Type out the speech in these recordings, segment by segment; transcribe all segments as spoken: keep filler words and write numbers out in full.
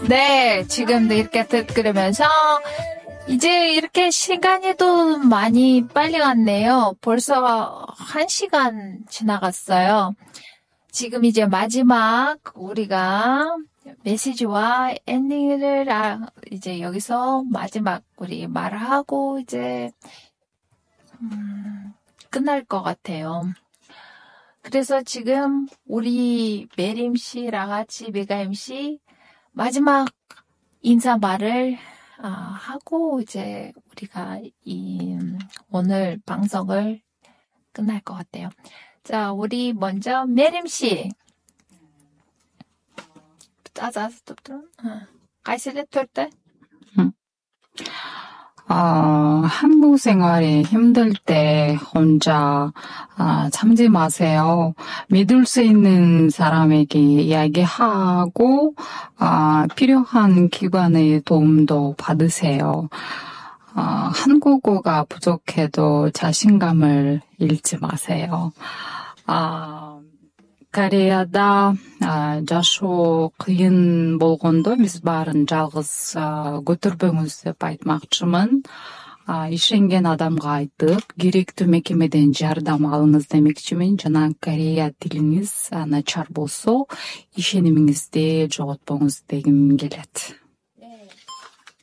네, 지금도 이렇게 들으면서 이제 이렇게 시간이도 많이 빨리 갔네요. 벌써 한 시간 지나갔어요. 지금 이제 마지막 우리가 메시지와 엔딩을 아, 이제 여기서 마지막 우리 말하고 이제 음, 끝날 것 같아요. 그래서 지금 우리 메림 씨랑 같이 메가임 씨 마지막 인사 말을 아, 하고 이제 우리가 이 오늘 방송을 끝날 것 같아요. 자, 우리 먼저 메림 씨. 짜자, 가이슬레 털때. 어, 한국 생활이 힘들 때 혼자 아, 참지 마세요. 믿을 수 있는 사람에게 이야기하고 아, 필요한 기관의 도움도 받으세요. 아, 한국어가 부족해도 자신감을 잃지 마세요. 아, Кореяда жашоо кыйын болгондо биз баарын жалгыз көтөрбөңүз деп айтмакчымын. Ишенген адамга айтып, керектүү мекемеден жардам алыңыз демекчимин. Жана Корея тилиңиз начар болсо, ишенимиңизди жоготпоңуз дегим келет.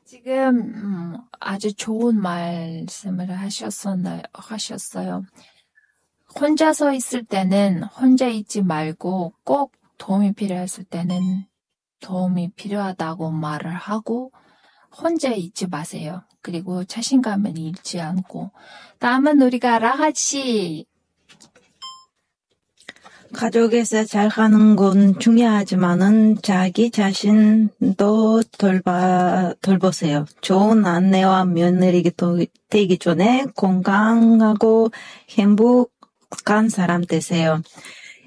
지금 아주 좋은 말씀을 하셨었나요? 하셨어요. 혼자서 있을 때는 혼자 있지 말고 꼭 도움이 필요했을 때는 도움이 필요하다고 말을 하고 혼자 있지 마세요. 그리고 자신감을 잃지 않고. 다음은 우리가 라하 씨. 가족에서 잘 가는 건 중요하지만은 자기 자신도 돌봐, 돌보세요. 좋은 아내와 며느리가 되기 전에 건강하고 행복 간 사람 되세요.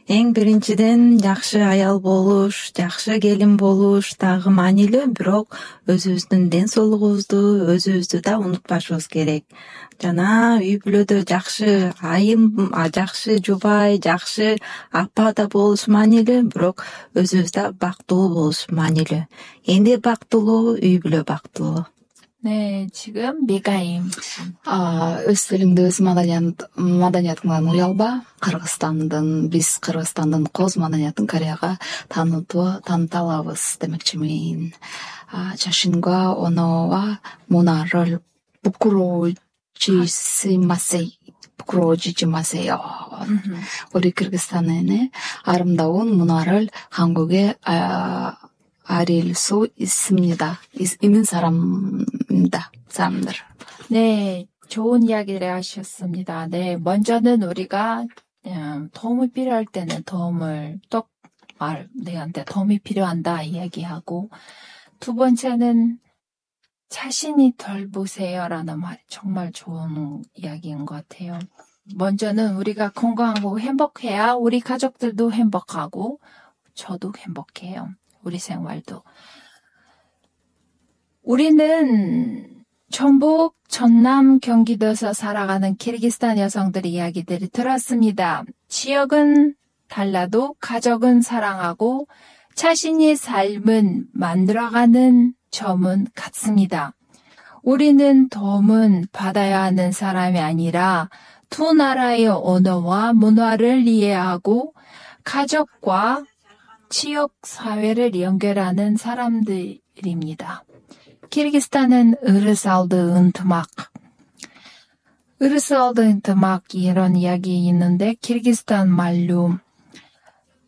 Эң биринчиден жакшы аял болуш, жакшы келин болуш дагы маанилүү, бирок өзүбүздүн ден соолугубузду, өзүбүздү да унутпашыбыз керек. Жана үй бүлөдө жакшы айым, жакшы жубай, жакшы апа да болуш маанилүү, бирок өзүбүз да бактылуу болуш маанилүү. Энди бактылуу, үй бүлө бактылуу. 네, 지금 메가임. 아, өз тилиңди өз маданият, маданиятыңдан уялба. Кыргызстандын, биз Кыргызстандын коз маданиятын Кореяга таанытуу, таныта алабыз демекчимин. 자신과 언어와 문화를 부끄러워지지 마세요. 부끄러워지지 마세요. 우리 그르기스탄의 아름다운 문화를 한국에 아, 알릴 수 있습니다. 있는 사람입니다. 사람들. 네, 좋은 이야기를 하셨습니다. 네, 먼저는 우리가 도움이 필요할 때는 도움을 똑 말, 내한테 도움이 필요한다 이야기하고, 두 번째는 자신이 덜 보세요라는 말이 정말 좋은 이야기인 것 같아요. 먼저는 우리가 건강하고 행복해야 우리 가족들도 행복하고 저도 행복해요. 우리 생활도. 우리는 전북, 전남, 경기도에서 살아가는 키르기스탄 여성들의 이야기들을 들었습니다. 지역은 달라도 가족은 사랑하고 자신의 삶은 만들어가는 점은 같습니다. 우리는 도움은 받아야 하는 사람이 아니라 두 나라의 언어와 문화를 이해하고 가족과 지역 사회를 연결하는 사람들입니다. 키르기스탄은 으르살드 은트막, 으르살드 은트막 이런 이야기 있는데 키르기스탄 말로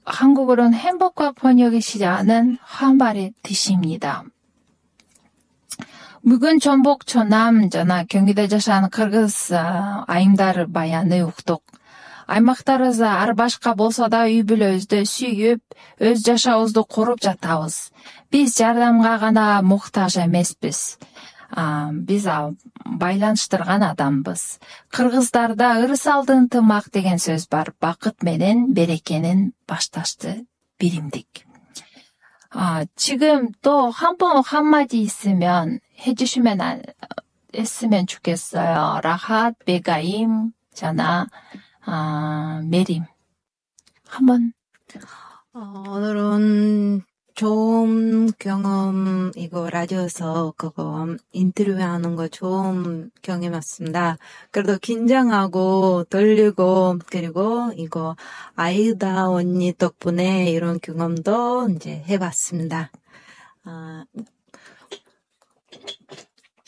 한국어로는 행복과 번역이 시작하는 한말의 뜻입니다. Бүгін 전북, 전남, жана 경기도 жашаган кыргыз айымдары баяны уктук. Аймактарыбыз ар башка болсо да үй бүлөбүздү сүйүп, өз жашообузду куруп жатабыз. Биз жардамга гана муктаж эмеспиз. Биз байланыштырган адамбыз. Кыргыздарда ырысалды ынтымак деген сөз бар. Бакыт менен берекенин башташты биримдик. 지금 또 한 번 한마디 있으면 해주시면 했으면 좋겠어요. 라핫, 메가임, 자나, 아, 메림. 한번. 어, 오늘은 좋은 경험, 이거 라디오에서 그거 인터뷰하는 거 좋은 경험이었습니다. 그래도 긴장하고 떨리고, 그리고 이거 아이다 언니 덕분에 이런 경험도 이제 해봤습니다. 아,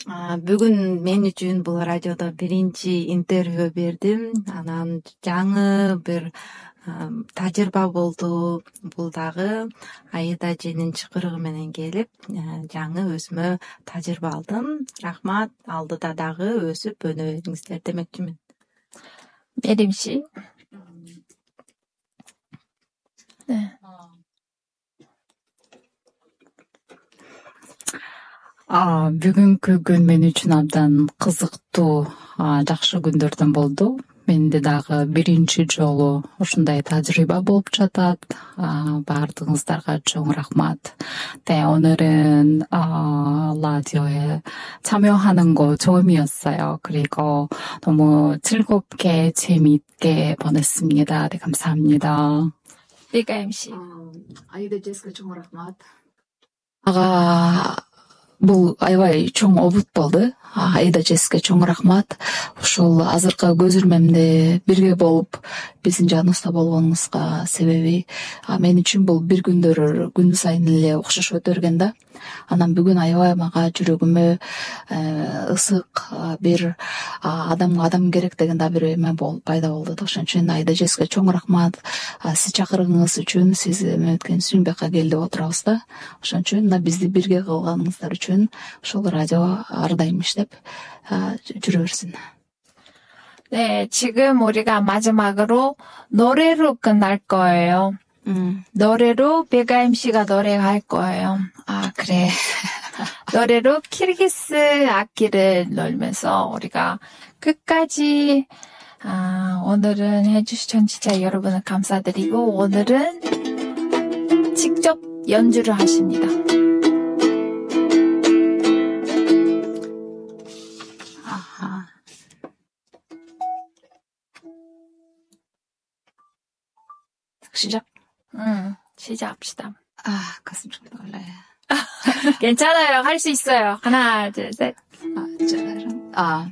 아, бүгін мен үчүн бұл радиода биринчи интервью бердим. Анан жаңы бир тажрыйба болду. Бул дагы Аида эженин чакырыгы менен келип, жаңы өзүмө тажрыйба алдым. Рахмат, алдыда дагы өсүп өнөбүңүздөр демекчимин. 메림 씨. 네. А, бүгүнкү күн мен үчүн абдан кызыктуу, жакшы күндөрдөн болду. Менде дагы биринчи жолу ушундай тажрыйба болуп жатат. Баардыгыңыздарга чоң рахмат. 네, 오늘은 어, 라디오에 참여하는 거 처음이었어요. 그리고 너무 즐겁게 재미있게 보냈습니다. 네, 감사합니다. 리가 엠씨. 아이다 제스가 чоң рахмат. ага бул аябай чоң обут болду. Аида Джессике чоң рахмат. Ушул азыркы көзүрмемде бирге болуп биздин жаныбызда болгонуңузга себеби мен үчүн бул бир күндөр күн сайын эле окшош өтө берген да. Анан бүгүн аябай мага жүрөгүмө ысык бир адамга адам керек деген да бир эме болуп пайда болду. Ошон үчүн Аида Джессике чоң рахмат. Сиз чакыргыңыз үчүн, сиз эме өткөнүңүз үчүн бияка келип отурабыз да. Ошон үчүн мына бизди бирге кылганыңыздар үчүн ушул радио ар дайым иштеп жүрө берсин. 네, 지금 우리가 마지막으로 노래로 끝날 거예요. 음. 노래로 베가 엠씨가 노래할 거예요. 아, 그래. 노래로 키르기스 악기를 놀면서 우리가 끝까지 아, 오늘은 해주신 청취자 여러분을 감사드리고 오늘은 직접 연주를 하십니다. 아하. 시작. 응, 시작합시다. 아, 가슴 좀 떨려요. 괜찮아요. 할 수 있어요. 하나, 둘, 셋. 아, 짜라란. 아.